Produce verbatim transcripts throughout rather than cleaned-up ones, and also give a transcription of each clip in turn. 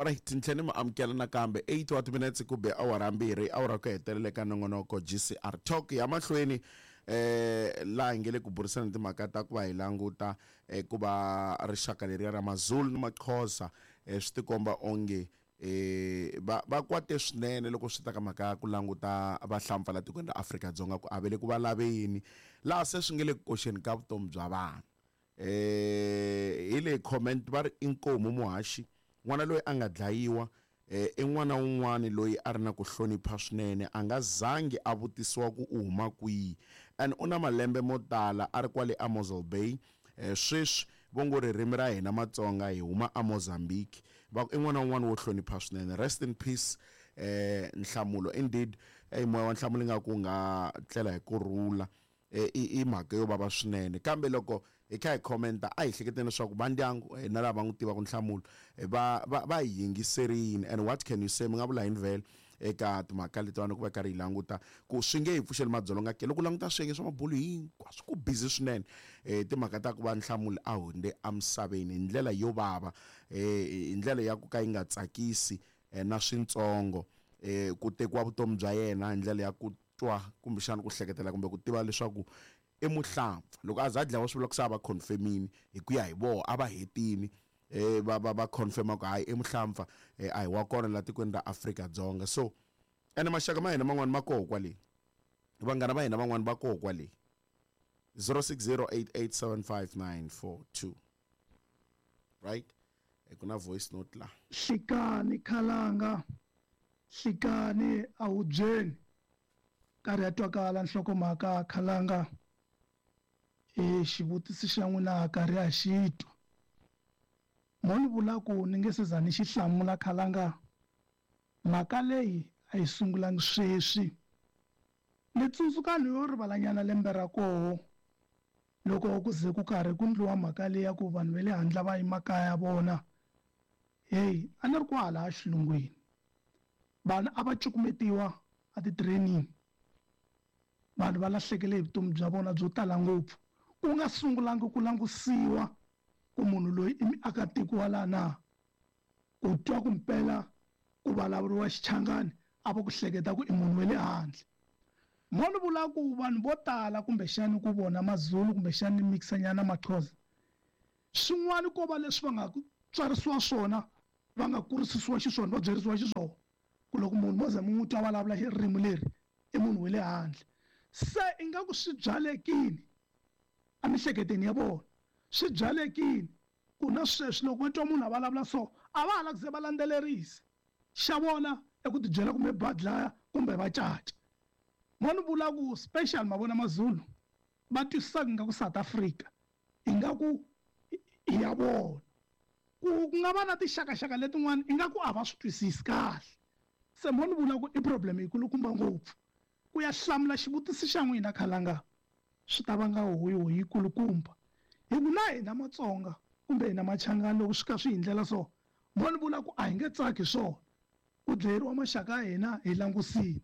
Alright, ni tlhela ni mi amukela nakambe eight wa timinetse ku be awara mbirhi, awara ku hetelela eka nongonoko G C R Talk ya mahlweni, eh laha hi nge le ku burisana timhaka ta ku va hi languta eh, ku va rixaka leriya ra Mazulu ni Maxhosa, eh, swi tikomba onge eh va va kwate swinene loko swi ta ka mhaka ya ku languta vahlampfa la tikweni ra Afrika-Dzonga, ku avele ku va lave yini laha se swi nge le ku koxeni ka vutomi bya vanhu. eh hi le comment va ri, "Inkomu muhaxi, n'wana loyi a nga dlayiwa eh i n'wana wun'wani loyi a ri na ku hlonipha swinene, a nga zangi a vutisiwa ku u huma kwihi, and u na malembe mo tala a ri kwale a Mossel Bay. eh sweswi vo ngo ririmi ra hina Matsonga hi huma a Mozambique." Va ku i n'wana wun'wana wo hlonipha swinene. Rest in peace, eh Nhlamulo. Indeed, eh moya wa Nhlamulo ingaku nga tlela hi kurhula. eh, i i mhaka yo vava swinene, kambe loko hi kha hi commenta, a hi hleketeni leswaku va ndyangu eh, na lava va n'wi tivaka Nhlamulo eh, va va va hi yingiserini. And what can you say? Mi nga vula yini vhele eka timhaka letiwani, ku va karhi hi languta ku swi nge hi pfuxeli madzolonga ke? Loko u languta swiyenge swa mabulu hinkwaswo, ku busy swinene eh timhaka ta ku va Nhlamulo a hundze emisaveni hi ndlela yo vava, eh hi ndlela ya ku ka yi nga tsakisi eh, na swintsongo, eh ku tekiwa vutomi bya yena hi ndlela ya ku twa kumbexana ku hleketela kumbe ku tiva leswaku i muhlampfa. Loko a za a dlawa, swi vula ku se a va confirmini hi ku ya hi voho, a va hetini eh va va va confirma ku hayi, i muhlampfa, eh, a hi wa kona la tikweni ra Afrika-Dzonga. So ene maxaka ma hina man'wani ma koho kwale, vanghana va hina van'wani va koho kwale. zero six zero eight eight seven five nine four two, right? Eh, ku na voice note la. Hlikani khalanga, hlikani ahubyeni, karhi ya twakala nhlokomhaka khalanga. E xivutiso xa n'wina karhi ya xi twa, mo ni vula ku ni nge se za ni xi hlamula khalanga. Mhaka leyi a yi sungulangi sweswi. Ni tsundzuka ni yo rivalanyana lembe ra koho, loko ku ze ku karhi ku ndliwa mhaka leyi ya ku vanhu va le handle va yi makaya ya vona. Heyi, a ni ri kwala a xilungwini, vanhu a va cukumetiwa a ti-trainini, vanhu va lahlekele hi vutomi bya vona byo tala ngopfu, ku nga sungulangi ku langusiwa ku munhu loyi i muakatiko wa laha na. Ku twa ku mpela ku vulavuriwa Xichangani, a va ku hleketa ku i munhu wa le handle. Mo ni vula ku vanhu vo tala kumbexani ku vona Mazulu, kumbexani ni mixanyana Maxhosa, swin'wana ko va leswi va nga tswarisiwa swona, va nga kurisisiwa xiswona, va byerisiwa xiswona, ku loko munhu mo ze mi n'wi twa vulavula ririmi leri, i munhu wa le handle. Se ingaku swi byalekini emihleketweni ya vona, swi byalekini ku na sweswi loko va twa munhu a vulavula so, a va ha lava ku ze va landzelerisa. Xa vona i ku tibyela kumbe va dlaya kumbe va caca. Mo ni vula ku special ma vona Mazulu va twisisaka ingaku South Africa ingaku i ya vona, ku ku nga va na tinxakaxaka letin'wana ingaku a va swi twisisi kahle. Se mo ni vula ku i problem yikulukumba ngopfu. Ku ya hlamula xivutiso xa n'wina khalanga, swi ta vanga hoyihoyi yikulukumba, hi ku na hina Matsonga kumbe hina Machangani, loko swi ka swi hi ndlela so, mo ni vula ku a hi nge tsaki swona ku dlayeriwa maxaka ya hina hi langusini.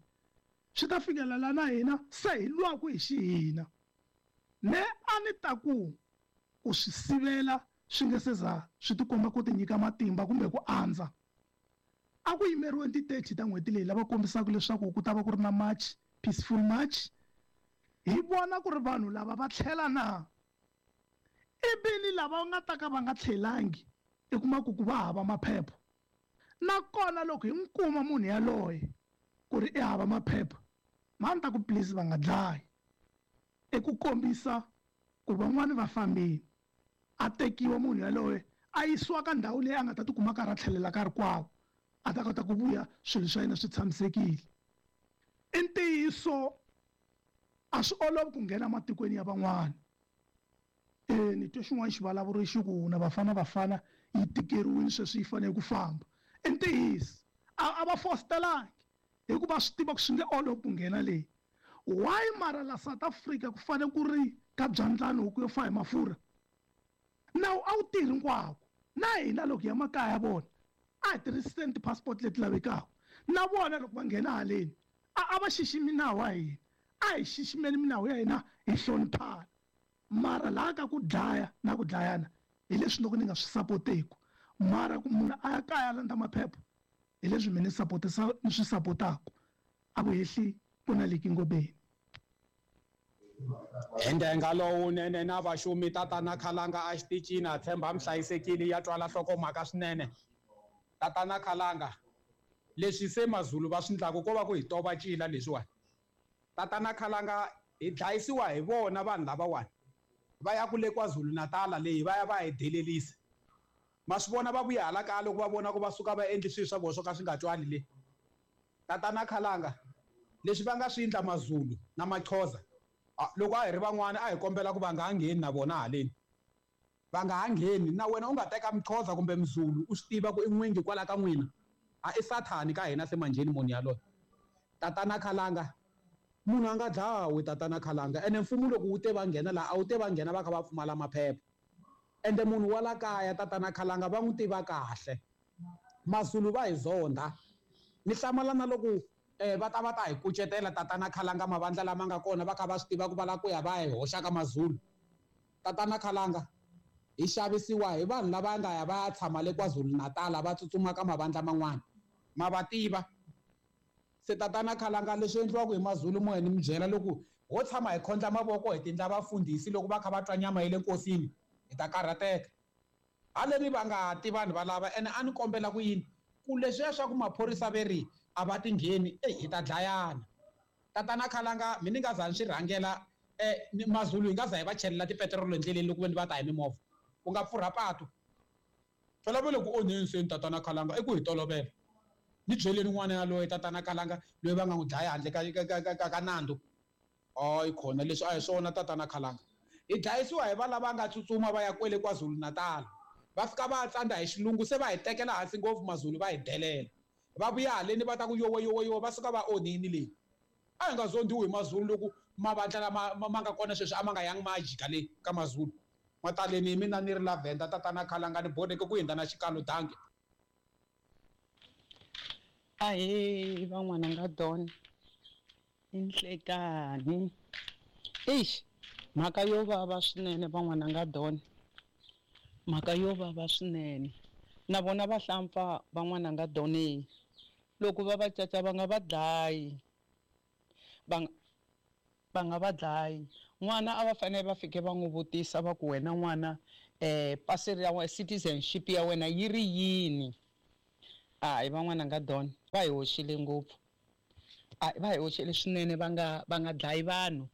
Swi ta fikela la na hina se hi lwaku hi xihina. Me a ni ta ku ku swi sivela swi nge se za swi tikomba ku tinyika matimba kumbe ku andza, a ku yimeriwe ti-thirty ta n'hweti leyi, lava kombisaka leswaku ku ta va ku ri na march, peaceful march, hi vona ku ri vanhu lava va tlhela na. Ivi ni lava nga ta ka va nga tlhelangi, i kuma ku ku va hava maphepha. Nakona loko hi n'wi kuma munhu yaloye ku ri i hava maphepha, ma ni ta ku please va nga dlayi, i ku kombisa ku van'wani va fambile, a tekiwa munhu yaloye a yisiwa ka ndhawu leyi a nga ta tikuma karhi a tlhelela ka rikwavo, a ta kota ku vuya swilo swa yena swi tshamisekile. I ntiyiso a swi olovi ku nghena matikweni ya van'wana. E ni twe xin'wana xivulavuri xi ku na Bafana Bafana yi tikeriwile sweswi, yi fanele ku famba. I ntiyiso a a va fositelangi, hikuva swi tiva ku swi nge olovi ku nghena leyi. Why mara la South Africa ku fanele ku ri ka byandlani huku yo fa hi mafurha? Nawu a wu tirhi hinkwako. Na hina loko hi ya makaya ya vona, a hi tirhiseni ti-passport leti lavekaka. Na vona loko va nghena haleni, a a va xiximi nawu wa hina. A hi xiximeni minawu ya hina, hi hloniphana. Mara laha ka ku dlaya na ku dlayana hi leswi loko ni nga swi sapoteku. Mara ku munhu a ya kaya a landza maphepha hi leswi mina ni sapotisa ni swi sapotaku a ku hehli ku na liki ngobeni. Hi ndenga lowunene na vaxumi tatana Khalanga a xitichini a tshemba mi hlayisekile ya twala nhlokomhaka swinene. Tatana Khalanga leswi se Mazulu va swi endlaku ko va ku hi tova cila leswiwani. Tatana Khalanga hi dlayisiwa hi vona vanhu lavawani va ya ku le KwaZulu-Natal leyi va ya va hi delelisa. Ma swi vona va vuya hala kaya loko va vona ku va suka va endli swilo swa vona swo ka swi nga twali le. Tatana Khalanga leswi va nga swi endla Mazulu na Maxhosa loko a hi ri van'wana a hi kombela ku va nga ha ngheni na vona haleni. Va nga ha ngheni na wena u nga teka Mxhosa kumbe Mzulu u swi tiva ku i n'wingi kwala ka n'wina. A i sathani ka hina se manjheni munhu yaloye. Tatana Khalanga munhu a nga dlawi tatana Khalanga ene mfumo loko wu te va nghena laha a wu te va nghena va kha va pfumala maphepha. Ende munhu wa la kaya tatana Khalanga va n'wi tiva kahle. Mazulu va hi zondha. Ni hlamala na loko eh va ta va ta hi kucetela tatana Khalanga mavandla lama nga kona va kha va swi tiva ku va lava ku ya va hi hoxa ka Mazulu. Tatana Khalanga hi xavisiwa hi vanhu lava nga ya va ya tshama le KwaZulu-Natal va tsutsuma ka mavandla man'wana. Ma va tiva. Se tatana Khalanga leswi endliwaka hi Mazulu mo ni mi byela loko ho tshama hi khondla mavoko hi tindla vafundhisi loko va kha va twa nyama ya le nkosini hi ta karhateka. Haleni va nga ti vanhu valava ene a ni kombela ku yini ku leswiya swa ku maphorisa ve ri a va ti ngheni eyi hi ta dlayana. Tatana Khalanga mi ni nga za ni swi rhangela eh Mazulu hi nga za hi va chelela tipetirolo endleleni loko ve ni va ta hi mimovha ku nga pfurha patu. Phela va le ku onheni seni tatana Khalanga i ku hi tolovela. Ni byeleni n'wana yaloye tatana Khalanga loyi va nga n'wi dlaya handle ka ka ka ka ka nandzu. Hayi khona leswi a hi swona tatana Khalanga. Hi dlayisiwa hi va lava nga tsutsuma va ya kwele KwaZulu-Natal. Va fika va tsandza hi xilungu se va hi tekela hansi ngopfu Mazulu va hi delela. Va vuya haleni va ta ku yowe yowe yowe va suka va onhini leyi. A hi nga zondiwi hi Mazulu loko mavandla lama ma nga kona sweswi a ma nga yangi ma ya jika le ka Mazulu. Mataleni hi mina ni ri Lavender tatana Khalanga ni borheke ku hundza na xikalo danki. Ahee van'wana nga Don i nhlekani. Eish mhaka yo vava swinene van'wana nga Don. Mhaka yo vava swinene. Na vona vahlampfa van'wana nga Don loko va va caca va nga va dlayi. Va va nga va dlayi. N'wana a va fanele va fike va n'wi vutisa va ku wena n'wana eh pasi ya wena citizenship ya wena yi ri yini? Hayi van'wana nga Don va hi hoxile ngopfu. A va hi hoxile swinene va nga va nga dlayi vanhu.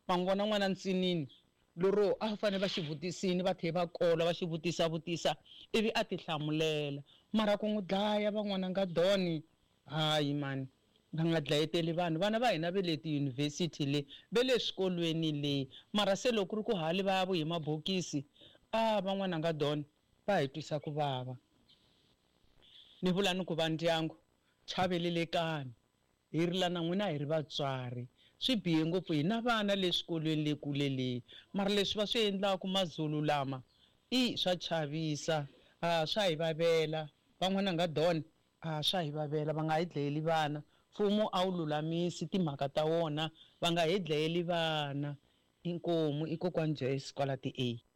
Va n'wi vona n'wana ntsinini lero a fanele va xi vutisini va tlhela va kola va xi vutisa vutisa ivi a ti hlamulela. Mara ku n'wi dlaya van'wana nga Don hayi mani va nga dlayeteli vanhu. Vana va hina ve le tiyunivhesiti le ve le swikolweni le mara se loko ku ri ku hali va ya vuyi mabokisi a van'wana nga Don va hi twisa ku vava. Ni vula ni ku va ndyangu chavelelekani hi rila na n'wina hi ri vatswari. Swi bihe ngopfu hi na vana le swikolweni le kule le mara leswi va swi endlaku Mazulu lama i swa chavisa a swa hi vavela. Van'wana nga Don a swa hi vavela va nga hi dlayeli vana. Mfumo a wu lulamisi timhaka ta wona va nga hi dlayeli vana. Inkomu i kokwani Joyce kwala ti A.